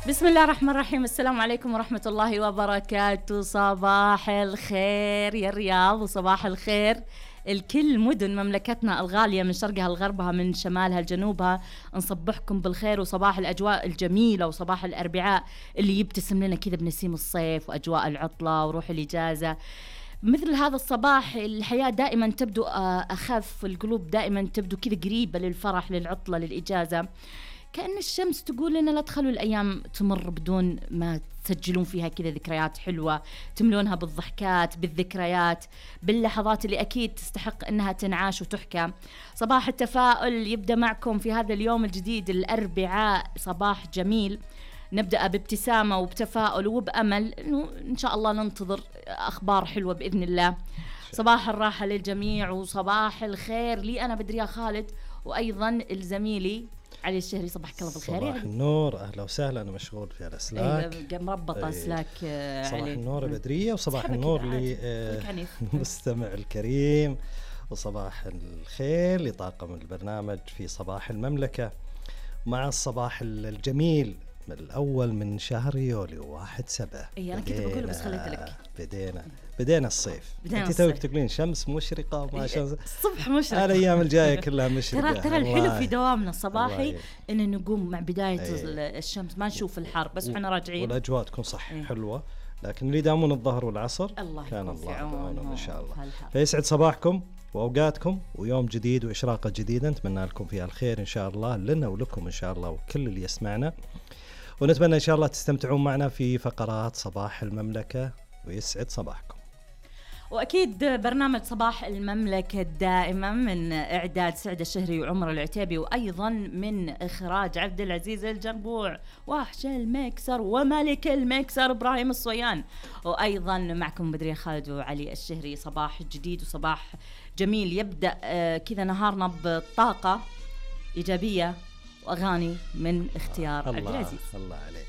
بسم الله الرحمن الرحيم. السلام عليكم ورحمة الله وبركاته. صباح الخير يا الرياض، وصباح الخير الكل مدن مملكتنا الغالية، من شرقها لغربها، من شمالها لجنوبها. نصبحكم بالخير وصباح الأجواء الجميلة، وصباح الأربعاء اللي يبتسم لنا كذا بنسيم الصيف وأجواء العطلة وروح الإجازة. مثل هذا الصباح الحياة دائما تبدو أخف، القلوب دائما تبدو كذا قريبة للفرح، للعطلة، للإجازة. كأن الشمس تقول لنا لا تخلوا الأيام تمر بدون ما تسجلون فيها كذا ذكريات حلوة، تملونها بالضحكات، بالذكريات، باللحظات اللي أكيد تستحق أنها تنعاش وتحكى. صباح التفاؤل يبدأ معكم في هذا اليوم الجديد الأربعاء، صباح جميل نبدأ بابتسامة وبتفاؤل وبأمل إنه إن شاء الله ننتظر أخبار حلوة بإذن الله. صباح الراحة للجميع وصباح الخير لي أنا بدرية خالد، وأيضا الزميلي علي الشهري. صباحك الله بالخير. صباح النور، أهلا وسهلا. أنا مشغول في الأسلاك، مربطة أسلاك صباح النور بدرية، وصباح النور للمستمع الكريم، وصباح الخير لطاقم البرنامج في صباح المملكة، مع الصباح الجميل الأول من شهر يوليو 1/7. أنا كنت بقول بس خليت لك. بدينا الصيف. أنت توك تقولين شمس مشرقة وما شمس الصبح مشرق. الأيام الجاية كلها مشرقة. ترى الحلو في دوامنا الصباحي إن نقوم مع بداية الشمس، ما نشوف الحر بس إحنا راجعين، والأجواء تكون صح حلوة. لكن اللي يدامون الظهر والعصر كان الله يعونهم إن شاء الله. فيسعد صباحكم وأوقاتكم، ويوم جديد وإشراقة جديدة نتمنى لكم فيها الخير إن شاء الله لنا ولكم إن شاء الله وكل اللي يسمعنا. ونتمنى إن شاء الله تستمتعون معنا في فقرات صباح المملكة، ويسعد صباحكم. وأكيد برنامج صباح المملكة دائما من إعداد سعد الشهري وعمر العتيبي، وأيضا من إخراج عبد العزيز الجربوع، وحش المكسر وملك المكسر إبراهيم الصويان، وأيضا معكم بدرية خالد وعلي الشهري. صباح جديد وصباح جميل يبدأ كذا نهارنا بطاقة إيجابية وأغاني من اختيار عبد العزيز. الله عليك.